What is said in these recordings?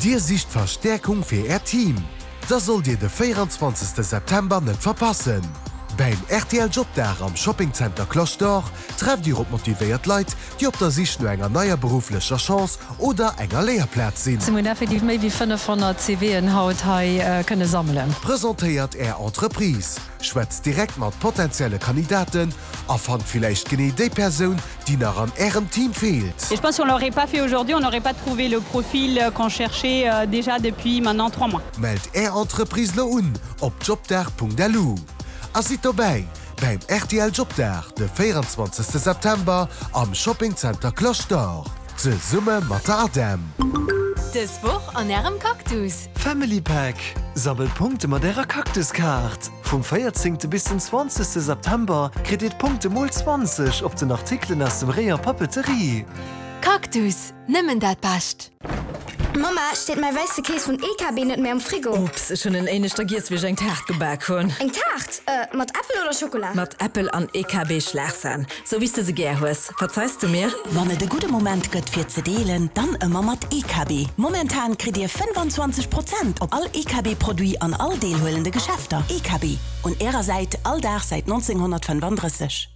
Dir sicht Verstäerkung fir Äert Team? Da sollt Dir de 24 September net verpassen! Bäim rtl Jobdag am Shopping Center Cloche d'Or trefft Dir op motivéiert Leit, déi op der Sich no enger neier berufflecher Chance oder enger Léierplaz sinn. Mir hunn effektiv méi wéi 500 CVen haut hei kënne sammelen. Presentéiert Är Entreprise, schwätzt direkt mat potenzielle Kandidaten a fannt villäicht genee déi Persoun, déi nach an Ärem Team feelt. Et je pense si on l'aurait pas fait aujourd'hui, on n'aurait pas trouvé le profil qu'on cherchait déjà depuis maintenant 3 mois. Mellt Är Entreprise lo un op jobdag.lu a sidd dobäi bäim rtl Jobdag de 24 September am Shopping Center Cloche d'Or zesumme mat der ADEM. Dës Woch an Ärem Cactus! Family Pack, Sammelt Punkte mat ärer Cactus-Kaart! Vum 14 bis den 20 September kritt dir d'Punkte mol 20 op den Artikelen aus dem Rayon Papeterie. Cactus, nëmmen dat Bescht! Mamma, steet mäi wäisse Kees vun EKB net méi am Frigo? Ups, ech hunn en éineschter giess wéi ech eng Taart gebak hunn. Eng Taart? Mat Äppel oder Schokola? Mat Äppel an EKB Schlagsahn. Sou wéi s de se gär hues. Verzeis du mir? Wann et e gudde Moment gëtt fir ze deelen, dann ëmmer mat EKB. Momentan kritt dir 25 Prozent op all EKB Produit an all deelhuelende Geschäfter. EKB, un ärer Säit all Dag säit 1935.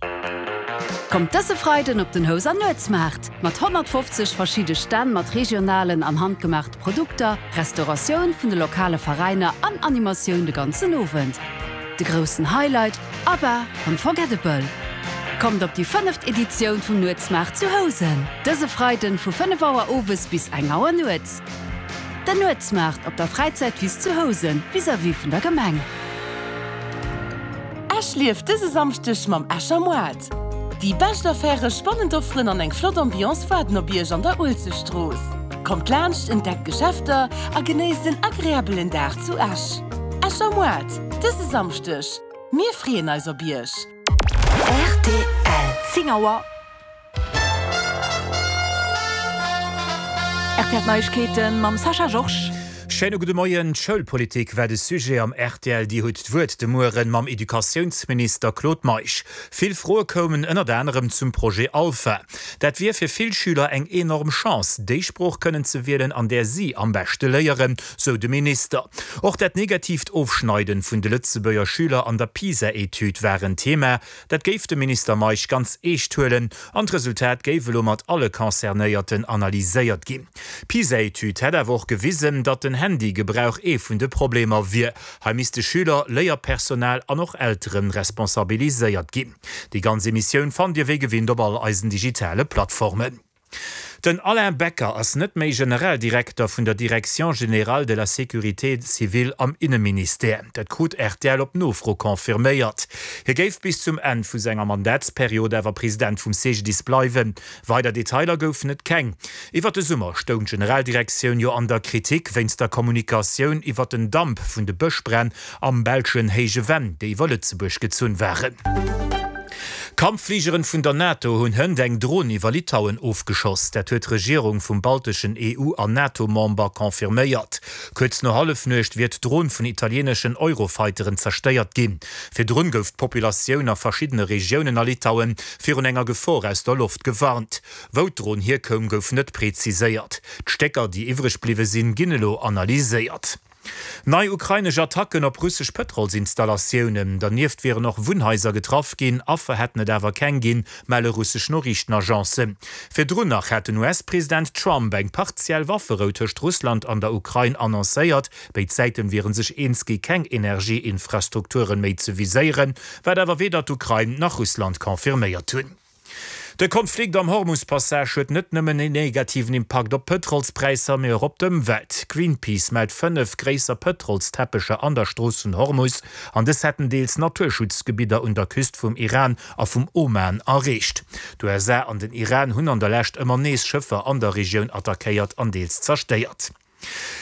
Kommt dëse Freiden op den Houser Nuetsmaart! Mat 150 verschidde Stänn mat regionalen an handgemaachte Produkter, Restauratioun vun de lokale Veräiner an Animatioun de ganzen Owend. De groussen Highlight, ABBA, Unforgettable! Kommt op déi fënneft Editioun vum Nuetsmaart zu Housen! Dëse Freiden vu 5 Auer owes bis eng Auer nuets. Den Nuetsmaart op der Fräizäitwiss zu Housen, vis-à-vis vun der Gemeng. Esch lieft dëse Samschdeg mam Escher Moart. Déi bescht Affäre, spannend Offeren an eng flott Ambiance waarden op Iech an der Uelzechtstrooss. Kommt laanscht, entdeckt d'Geschäfter a genéisst en agreabelen Dag zu Esch. Escher Moart, dëse Samschdeg. Mir freeën eis op Iech! Rtl. 10 Auer. Rtl Neiegkeeten mam Sascha Georges. Schéine gudde Moien. D'Schoulpolitik war de Sujet am rtl Dir hutt d'Wuert de Mueren mam Educatiounsminister Claude Meisch. Vill Froe koumen ënnert anerem zum Projet Alpha. Dat wier fir vill Schüler eng enorm Chance, déi Sprooch kënnen ze wielen, an där si am beschte léieren, sou de Minister. Och dat negatiivt Ofschneiden vun de Lëtzebuerger Schüler an der PISA-Etüd war en Thema. Dat géif de Minister Meisch ganz eescht huelen an d'Resultat géif elo mat alle Concernéierten analyséiert ginn. D'PISA-Etüd hätt awer och gewisen, datt den Handygebrauch ee vun de Problemer wier. Hei misste Schüler, Léierpersonal an och Eltere responsabiliséiert ginn. Déi ganz Emissioun fannt Dir wéi gewinnt op all eisen digitale Plattformen. Den Alain Becker ass net méi Generaldirekter vun der Direction générale de la sécurité civile am Inneministère. Dat krut rtl op Nofro confirméiert. Hie géif bis zum Enn vu senger Mandatsperiod awer President vum CGDIS bleiwen. Weider Detailer goufen et keng. Iwwer de Summer stoung d'Generaldirektioun jo an der Kritik wéinst der Kommunikatioun iwwer den Damp vun de Bëschbränn am belschen Héije Venn, déi iwwer Lëtzebuerg gezunn waren. Kampffligeren vun der NATO hunn hënt eng Dron iwwer Litauen ofgeschoss. Dat huet d'Regierung vum balteschen EU an NATO-Member confirméiert. Kuerz no Hallefnuecht wier d'Dron vun italieeneschen Eurofighteren zerstéiert ginn. Virdrun gouf d'Populatioun a verschiddene Regiounen a Litauen virun enger Gefor aus der Loft gewarnt. Wou d'Dron hierkoum, gouf net preziséiert. D'Stécker, déi iwwreg bliwwe sinn, ginn elo analyséiert. Nei ukrainesch Attacken op russesch Pëtrolsinstallatiounen. Dernieft wieren och Wunnhaiser getraff ginn, Affer hätten et awer keng ginn, melle russesch Noriichtenagencen. Virdrun nach hat den US-President Trump eng partiell Wafferou tëscht Russland an der Ukrain annoncéiert. Béid Säiten wiere sech eens gi keng Energieinfrastrukturen méi ze viséieren, wat awer weder d'Ukrain nach Russland confirméiert hunn. De Konflikt am Hormus-Passage huet net nëmmen en negativen Impakt op d'Pëtrolspräisser, mee och op d'Ëmwelt. Greenpeace mellt 5 gréisser Pëtrolsteppecher an der Strooss vun Hormus, an dës hätten deels Naturschutzgebidder un der Küst vum Iran a vum Oman erreecht. D'USA an den Iran hunn an der Lescht ëmmer nees Schëffer an der Regioun attackéiert an deels zerstéiert.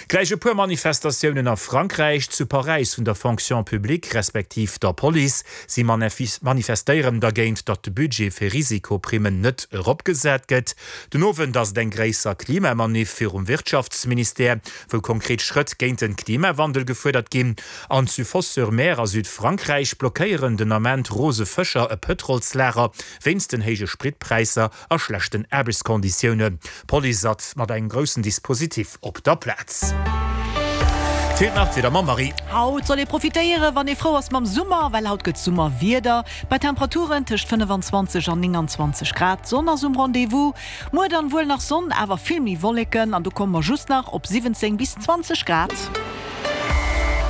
Gläich e puer Manifestatiounen a Frankräich, zu Paräis vun der Fonction publique respektiv der Police. Si manifestéieren dergéint, datt de Budget fir Risikoprimmen net eropgesat gëtt. Den Owend ass et eng gréisser Klimamaniff virum Wirtschaftsministère, wou konkret Schrëtt géint den Klimawandel gefuerdert ginn. An zu Fos-sur-Mer a Südfrankräich blockéieren den Ament rose Fëscher e Pëtrolslager wéinst den héije Spritpräisser. A schlechten Aarbechtskonditiounen. D'Police ass mat engem groussen Dispositif op der Plaz. Plaz. Feelt nach d'Wieder mam Marie. Haut soll ee profitéieren, wann ee frou ass mam Summer, well haut gëtt Summerwieder bei Temperaturen tëscht 25 an 29 Grad. D'Sonn ass um Rendez-vous. Muer dann wuel nach Sonn, awer vill méi Wolleken an do komme mer just nach op 17 bis 20 Grad.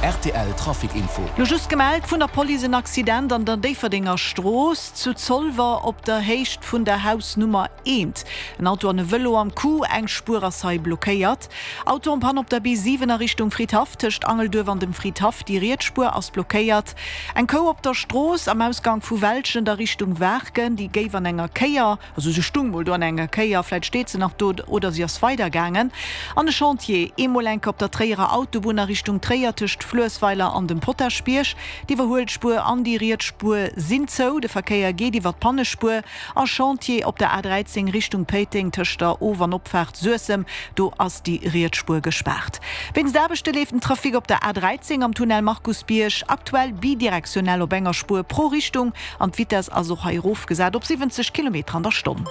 Rtl Trafic Info. Lo just gemellt vun der Police en Accident an der Déifferdenger Strooss zu Zolwer op der Héicht vun der Hausnummer eent. En Auto an e Vëlo am Coup, eng Spuer ass hei blockéiert. Auto en panne op der B7 a Richtung Fridhaff tëscht Angelduerf an dem Fridhaff, déi riets Spuer ass blockéiert. Eng Kou op der Strooss am Ausgang vu Welschent a Richtung Waarken, déi géif an enger Kéier. Also se stung mol do an enger Kéier, vläit steet se nach do oder si ass weidergaangen. An e Chantier, eemol enke op der Tréierer Autobunn a Richtung Tréier tëscht Fluessweiler an dem Potaschbierg. D'Iwwerhuelspuer an déi riets Spuer sinn zou, de Verkéier geet iwwer d'Pannespuer. A Chantier op der A13 Richtung Péiteng tëscht der Of an Opfaart Suessem, do ass déi riets Spuer gespaart. Wéinst Aarbechte leeft den Trafic op der A13 am Tunnel Markusbierg aktuell bidirektionell op enger Spuer pro Richtung. An d'Vitess ass och hei erofgesat op 70 Kilometer an der Stonn.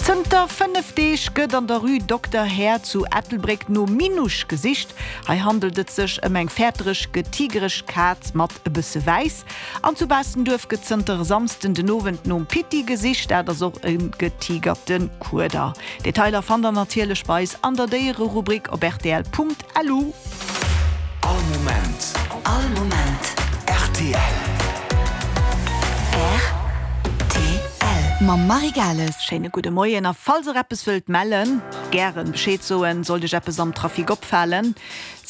Zënter 5 Deeg gëtt an der Rue Dokter Herr zu Ettelbréck nom Minouche gesicht. Hei handelt et sech ëm eng fäertereg getigereg Kaz mat e bësse Wäiss. An zu Baastenduerf gëtt zënter e Samsden den Owend nom Pitti gesicht. Dat ass och e getigerte Kueder. Detailer fannt der natierlech bei eis an der Déiererubrik op rtl. Lu. All Moment. All Moment. Rtl. Rtl. Mam Marie Gales. Schéine gudde Moien a falls der eppes wëllt mellen, gären Bescheed soen, sollt iech eppes am Trafic opfalen.